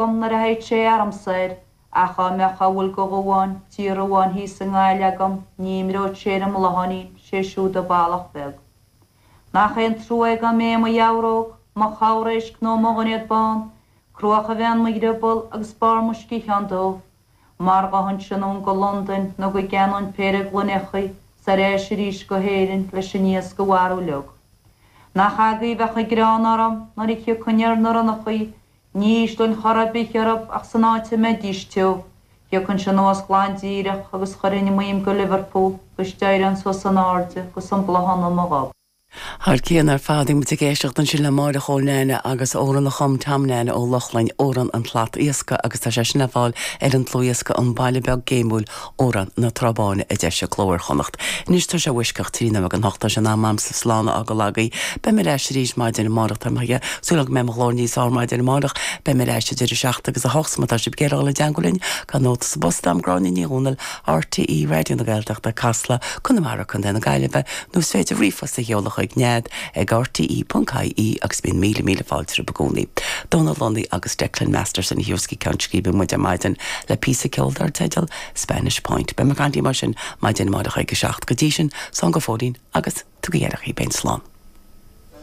Agam nuair a théid sé ormsa air, ach dhá mbeadh a bhfuil de dhuáin tír amháin thíos i nGaillimh agam ní imreodh sé ar an mBlátháinín, sé siúd an ballach beag. Nach é an trua é dá mb'é mo gheabhróg, mo chabhréisc nó mo dhoinéad bán, cruach a bheith in mo dhrioball agus barr mo sciathán dubh, mar ghabhfainnse anonn go Londain nó go gceannóinn péire gloineachaí 's ar ais arís go hÉirinn leis an iasc a mharú uilig. Nach agaibh a bheadh an greann orm nuair a thiocfainn ar na ronnachaí Ní ísleoinn chor ar bith orthu ach san áit a mbeidís tiubh, thiocfainnse anuas glan díreach agus chuirfinn m'ainm go Liverpool 'gus d'éireoinn suas in airde 'gus an bláthán i mo ghob. Thar cionn ar fad, bhí muid ag éisteacht ansin le Máire Chóil Neaine agus amhrán a chum Tom Neaine Ó Lochlainn, Amhrán an tSlat Iascaigh agus tá sé sin le fáil ar an dlúthdhiosca An Baile Beag Géimiúil, Amhrán na Trá Báine a d'eisigh Cló Iar-Chonnacht. Anois tá sé uaisceacht 13 nóiméad don hocht, tá sé in am a'msa slán a fhágáil agaibh. Beidh mé ar ais arís maidin amárach, tá mé ag súil go mbeidh mo ghlór níos fearr maidin amárach. Beidh mé ar ais idir a seacht agus a hocht, má tá sibh ag iarraidh dul i dteangmháil linn, gabh nóta sa bpost agam, Gráinne Ní Dhomhnaill, RTÉ Raidió na Gaeltachta, Casla, Conamara, Co. na Gaillimhe, nó is féidir ríomhphost a sheoladh chuig nead ag rte.ie agus bíonn míle míle fáilte romhaibh i gcónaí. Dónal Lunny agus Declan Masterson a thabharfas go ceann scríbe muid ar maidin le píosa ceoil dar teideal Spanish Point. Beidh mé ag caint libh mar sin maidin amárach ag a 7. Go dtí sin, slán go fóillín agus tugaigí aire dhaoibh féin. Slán.